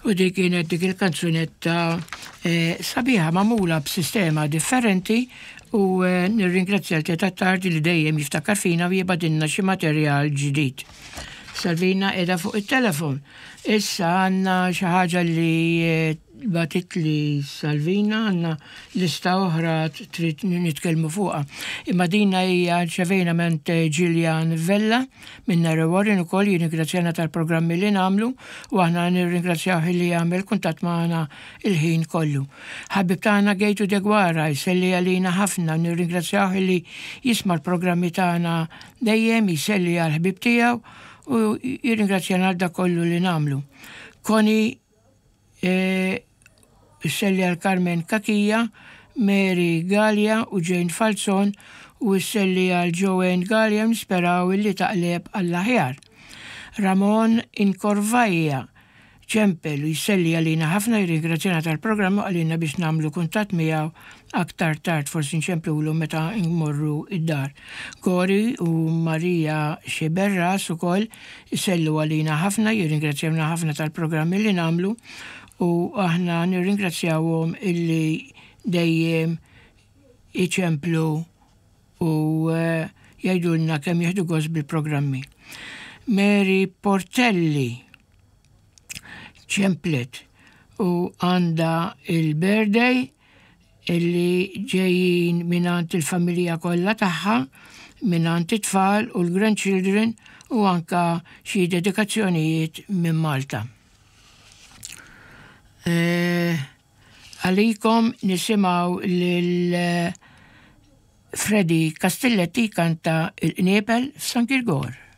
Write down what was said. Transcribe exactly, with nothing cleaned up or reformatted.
U dik kienet dik il-kanzunetta eh, sabiħa magħmula b'sistema differenti u eh, nirringrazzja l Tardi li dejjem jiftakar fina u jibgħatilna xi materjal ġdid. Salvina qiegħda fuq it-telefon. Issa għandna xi ħaġa li eh, bagħtitli Salvina, għandna lista oħra trid nitkellmu fuqha. Imma dina hija rċevejna minn Gillian Vella minn Narrow Warren ukoll, jirringrazzjana tal-programmi li nagħmlu u aħna nirringrazzjaw li jagħmel kuntatt magħna il-ħin kollu. Ħabib tagħna Gejtu Degwara jselli għalina ħafna, nirringrazzjaw li jisma' l-programmi tagħna dejjem, jselli għal ħbib tiegħu u jirringrazzjana għal dak kollu li nagħmlu. Koni isselli għal Carmen Kakija, Mary Gallia u Jane Falzon u isselli għal Joanne Gallia, nisperaw illi taqleb għall-aħjar. Ramon Inkorvajja ċempel u jselli għalina ħafna, jirringrazzjana tal-programm u għalina biex nagħmlu kuntatt miegħu aktar tard, forsi nċemplulu meta nmorru id-dar. Gori u Maria Xiberras ukoll jsellu għalina ħafna, jirringrazzjawna ħafna tal-programmi li nagħmlu u aħna nirringrazzjawhom illi dejjem iċemplu u eh, jgħidulna kemm jieħdu gost bil-programmi. Mary Portelli ċemplet u għandha il-birthday illi ġejjin mingħand il-familja kollha tagħha, mingħand it-tfal u l-grandchildren u anka xi dedikazzjonijiet minn Malta. Eh, Għalikom nisimgħu lil eh, Freddy Castilletti kanta Il-Qniepel f'San Girgor.